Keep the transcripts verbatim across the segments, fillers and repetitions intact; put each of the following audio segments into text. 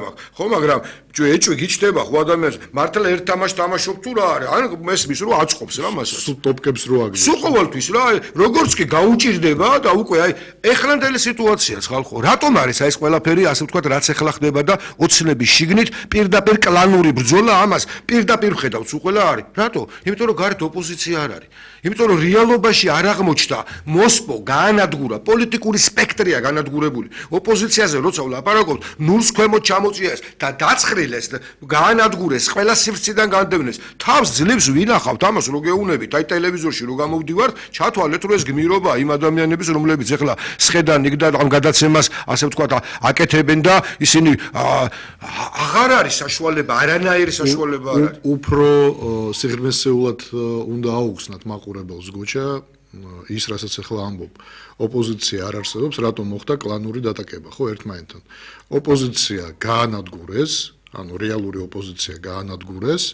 მაქვს ხო მაგრამ ეჭვი გიჩდება ხო ადამიანს მართლა ერთ თამაშს თამაშობ თუ რა არის ან მესმის რომ აწყობს რა მასაც სულ ტოპკებს რო აგებს სულ ყოველთვის რა როგორც კი გაუჭირდება და უკვე აი ეხლანდელი სიტუაციაც ხალხო რატომ არის აი ეს ყველაფერი ასე ვთქვათ რაც ეხლა ხდება და ოცნების შიგნით პირდაპირ კლანური ბრძოლა ამას პირდაპირ ხედავთ სულ ყველა არის რატო იმიტომ რომ გარეთ ოპოზიცია არ არის იმიტომ რომ რეალობაში არ აღმოჩნდა მოსპო გაანადგურა პოლიტიკური სპექტრია განადგურებული ოპოზიციაზე როცა ვლაპარაკობთ ნულს ქვემოთ ჩამოწიეს და დაცხრილეს გაანადგურეს ყველა სივრციდან განდევნეს თავს ძლივს ვინახავთ ამას რო გეუნებით აი ტელევიზორში რო გამოვდივართ ჩათვალეთ რომ ეს გმირობა იმ ადამიანების რომლებიც ეხლა სხედან იქ და ამ გადაცემას ასე ვთქვათ აკეთებენ და ისინი აღარ არის საშუალება არანაირი საშუალება არ არის უფრო სიღრმისეულად უნდა აუხსნათ მაყურებელს გოჩა ის რასაც ახლა ამბობ ოპოზიცია არ არსებობს რატომ მოხდა კლანური დატაკება ხო ერთმანეთთან ოპოზიცია გაანადგურეს ანუ რეალური ოპოზიცია გაანადგურეს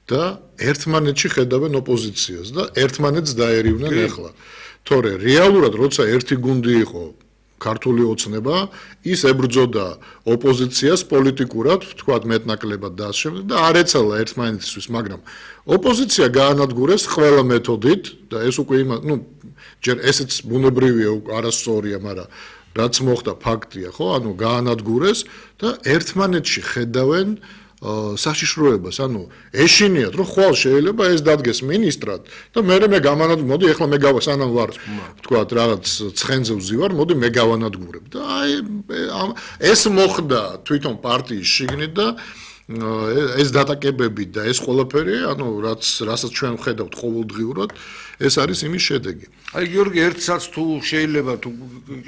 და ერთმანეთში ხედავენ ოპოზიციას და ერთმანეთს დაერივნენ ახლა თორე რეალურად როცა ერთი გუნდი იყო ქართული ოცნება ის ებრძოდა ოპოზიციას პოლიტიკურად თქვათ მეტნაკლებად და ასე შემდეგ და არ ეცალა ერთმანეთისთვის მაგრამ ოპოზიცია გაანადგურეს ყველა მეთოდით და ეს უკვე იმა ნუ ჯერ ესეც ბუნებრივია არასწორია მაგრამ რაც მოხდა ფაქტია ხო ანუ გაანადგურეს და ერთმანეთში ხედავენ საშიშროებას ანუ ეშინიათ რომ ხვალ შეიძლება ეს დადგეს მინისტრად და მე მე გამანადგ მოდი ეხლა მე გავა სანამ ვარ თქვათ რაღაც ცხენზე ვზივარ მოდი მე გავანადგურებ და აი ეს მოხდა თვითონ პარტიის შიგნით და ეს დატაკებები და ეს ყველაფერი ანუ რაც რასაც ჩვენ ვხედავთ ყოველდღიურად ეს არის იმის შედეგი აი გიორგი ერთსაც თუ შეიძლება თუ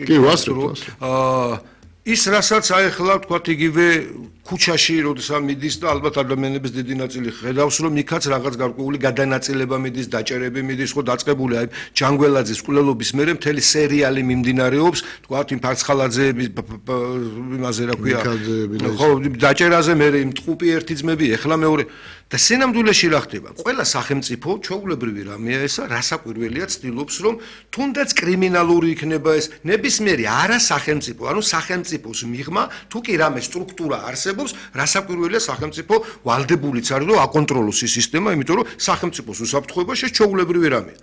კი ვასწრებ აა ის რასაც აი ახლა თქვათ იგივე ქუჩაში როდესაც მიდის და ალბათ ადამიანების დიდი ნაწილი ხედავს რომ იქაც რაღაც გარკვეული გადანაწილება მიდის დაჭერები მიდის ხო დაწყებული აი ჯანგველაძის კვლელობის მერე მთელი სერიალი მიმდინარეობს თქვათ იმ ფარცხალაძეების იმაზე რა ქვია ხო დაჭერაზე მერე იმ ტყუპი ერთი ძმები ეხლა მეორე და სინამდვილეში რა ხდება ყველა სახელმწიფო ჩვეულებრივი რამეა ესა რასაკვირველია ცდილობს რომ თუნდაც კრიმინალური იქნება ეს ნებისმიერი არა სახელმწიფო ანუ სახელმწიფოს მიღმა თუ კი რამე სტრუქტურა არსებობს რასაკვირველია სახელმწიფო ვალდებულიც არის რომ აკონტროლოს ის სისტემა იმიტომ რომ სახელმწიფოს უსაფრთხოებაში ეს ჩვეულებრივი რამეა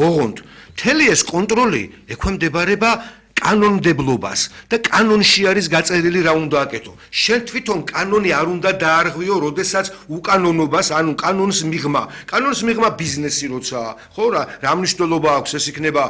ოღონდ მთელი ეს კონტროლი ექვემდებარება კანონმდებლობას და კანონში არის გაწერილი რა უნდა აკეთო. შენ თვითონ კანონი არ უნდა დაარღვიო, როდესაც უკანონობას, ანუ კანონს მიღმა. კანონს მიღმა ბიზნესი როცა, ხო რა, რა მნიშვნელობა აქვს, ეს იქნება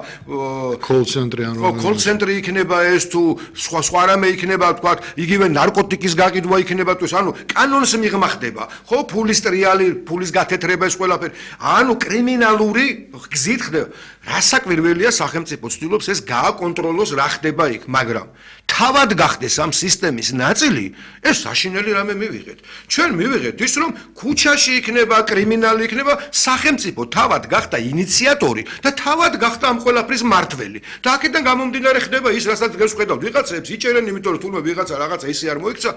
call center ანუ ხო, call center იქნება ეს თუ სხვა სხვა რამე იქნება, თქვა, იგივე ნარკოტიკის გაყიდვა იქნება თუ ეს, ანუ კანონს მიღმა ხდება. ხო, ფულის ტრიალი, ფულის გათეთრება ეს ყველაფერი. ანუ კრიმინალური გზით ხდება. რასაკვირველია სახელმწიფო ცდილობს ეს გააკონტროლოს რა ხდება იქ, მაგრამ თავად გახდეს ამ სისტემის ნაწილი, ეს საშინელი რამე მივიღეთ. ჩვენ მივიღეთ ის, რომ ქუჩაში იქნება, კრიმინალი იქნება, სახელმწიფო თავად გახდა ინიციატორი და თავად გახდა ამ ყველაფრის მმართველი. და აქედან გამომდინარე ხდება ის, რასაც დღეს ვხედავთ, ვიღაცებს იჭერენ, იმიტომ რომ თუნდაც ვიღაცა რაღაცა ისე არ მოიქცა.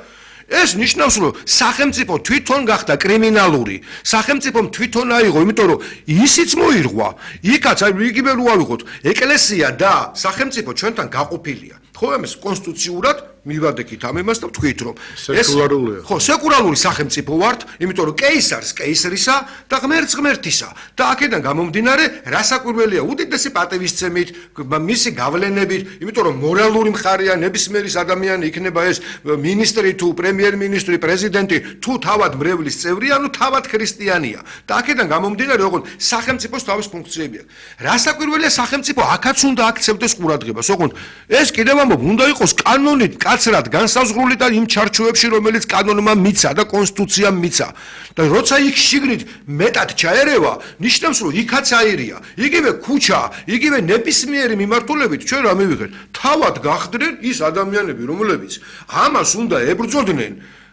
ეს ნიშნავს, რომ სახელმწიფო თვითონ გახდა კრიმინალური. სახელმწიფომ თვითონ აიღო, იმიტომ რომ ისიც მოირღვა. იქაც აი იგივე რო ავიღოთ, ეკლესია და სახელმწიფო ჩვენთან გაყოფილია. ხო, ამას კონსტიტუციურად მივადექით ამ იმას და ვთქვით, რომ სეკულარულია. ხო, სეკულარული სახელმწიფო ვართ, იმიტომ რომ კეისარს კეისრისა და ღმერთს ღმერთისა. და აქედან გამომდინარე, რასაკვირველია, უდიდესი პატივისცემით, მისი გავლენებით, იმიტომ რომ მორალური მხარეა ნებისმიერის ადამიანი იქნება ეს მინისტრი თუ პრემიერ-მინისტრი, პრეზიდენტი, თუ თავად მრევლის წევრი, ანუ თავად ქრისტიანია. და აქედან გამომდინარე, ოღონდ სახელმწიფოს თავის ფუნქციები აქვს. რასაკვირველია, სახელმწიფო აქაც უნდა აქცევდეს ყურადღებას. ოღონდ ეს კიდევ ამბობ, უნდა იყოს კანონით კაცრად განსაზღვრული და იმ ჩარჩოებში, რომელიც კანონმა მიცა და კონსტიტუციამ მიცა. და როცა იქ შიგნით მეტად ჩაერევა, ნიშნავს, რომ იქაც აირია. იგივე ქუჩა, იგივე ნებისმიერი მიმართულებით ჩვენ რა მივიღეთ? თავად გახდნენ ის ადამიანები, რომლებიც ამას უნდა ებრძოდნენ,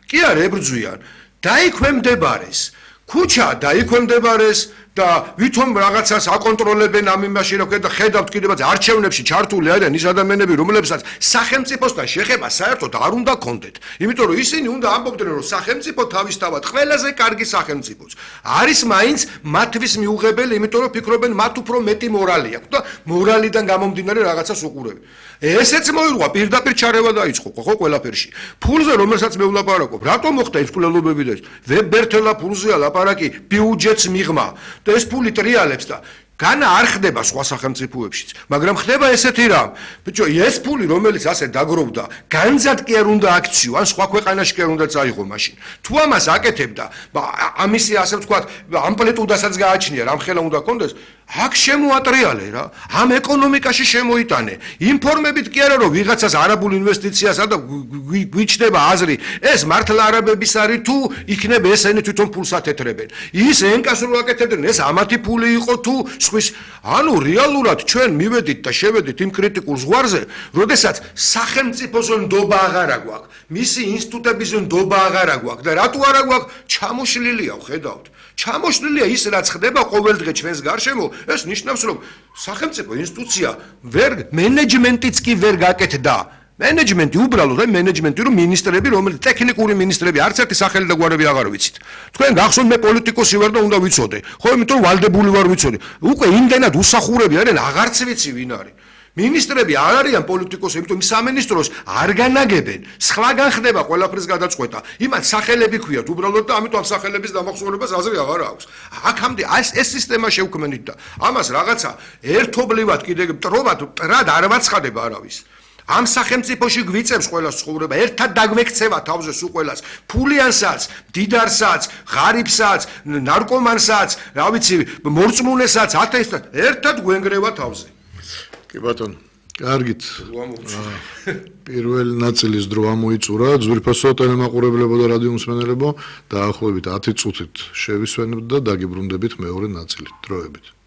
კი არ ებრძვიან, დაიქვემდებარეს. ქუჩა დაიქვემდებარეს, და ვითომ რაღაცას აკონტროლებენ ამ იმაში რა ქვია და ხედავთ კიდევაც არჩევნებში ჩართული არიან ის ადამიანები რომლებსაც სახელმწიფოსთან შეხება საერთოდ არ უნდა კონდეთ იმიტომ რომ ისინი უნდა ამბობდნენ რომ სახელმწიფო თავისთავად ყველაზე კარგი სახელმწიფოც არის მაინც მათთვის მიუღებელი იმიტომ რომ ფიქრობენ მათ უფრო მეტი მორალი აქვს და მორალიდან გამომდინარე რაღაცას უყურებენ ესეც მოირღვა პირდაპირ ჩარევა დაიწყო ხო ყველაფერში ფულზე რომელსაც მე ვლაპარაკობ რატომ მოხდა ეს ფულელობები და ვებერთელა ფულზეა ლაპარაკი ბიუჯეტს მიღმა და ეს ფული ტრიალებს და განა არ ხდება სხვა სახელმწიფოებშიც მაგრამ ხდება ესეთი რამ ბიჭო ეს ფული რომელიც ასე დაგროვდა განძად კი არ უნდა აქციო ან სხვა ქვეყანაში კი არ უნდა წაიღო მაშინ თუ ამას აკეთებდა ამისი ასე ვთქვათ ამპლიტუდასაც გააჩნია რამ ხელა უნდა კონდეს აქ შემოატრიალე რა ამ ეკონომიკაში შემოიტანე ინფორმებით კი არა რომ ვიღაცას არაბულ ინვესტიციასა და გვიჩნდება აზრი ეს მართლა არაბების არის თუ იქნებ ესენი თვითონ ფულს ათეთრებენ ის ენკას რო აკეთებდნენ ეს ამათი ფული იყო თუ სხვის ანუ რეალურად ჩვენ მივედით და შევედით იმ კრიტიკულ ზღვარზე როდესაც სახელმწიფოს ნდობა აღარა გვაქვს მისი ინსტიტუტების ნდობა აღარა გვაქვს და რატო არა გვაქვს ჩამოშლილია ხედავთ ჩამოშლილია ის რაც ხდება ყოველდღე ჩვენს გარშემო ეს ნიშნავს რომ სახელმწიფო ინსტიტუცია ვერ მენეჯმენტიც კი ვერ გაკეთდა მენეჯმენტი უბრალოდ აი მენეჯმენტი რომ მინისტრები რომელიც ტექნიკური მინისტრები არც ერთი სახელი და გვარები აღარ ვიცით თქვენ გახსოვთ მე პოლიტიკოსი ვარ და უნდა ვიცოდე ხო იმიტომ რომ ვალდებული ვარ ვიცოდე უკვე იმდენად უსახურები არიან აღარც ვიცი ვინ არის მინისტრები არ არიან პოლიტიკოსები იმიტომ სამინისტროს არ განაგებენ სხვაგან ხდება ყველაფრის გადაწყვეტა იმათ სახელები ქვიათ უბრალოდ და ამიტომ სახელების დამახსოვრებას აზრი აღარ აქვს აქამდე ეს ეს სისტემა შევქმნით და ამას რაღაცა ერთობლივად კიდე მტრობად მტრად არ ვაცხადება არავის ამ სახელმწიფოში გვიწევს ყველას ცხოვრება ერთად დაგვექცევა თავზე სულ ყველას ფულიანსაც დიდარსაც ღარიბსაც ნარკომანსაც რა ვიცი მორწმუნესაც ათეისტსაც ერთად გვენგრევა თავზე კი ბატონო კარგით პირველი ნაწილის დრო ამოიწურა ძვირფასო ტელემაყურებლებო და რადიო მსმენელებო დაახლოებით ათი წუთით შევისვენებთ და დაგიბრუნდებით მეორე ნაწილით დროებით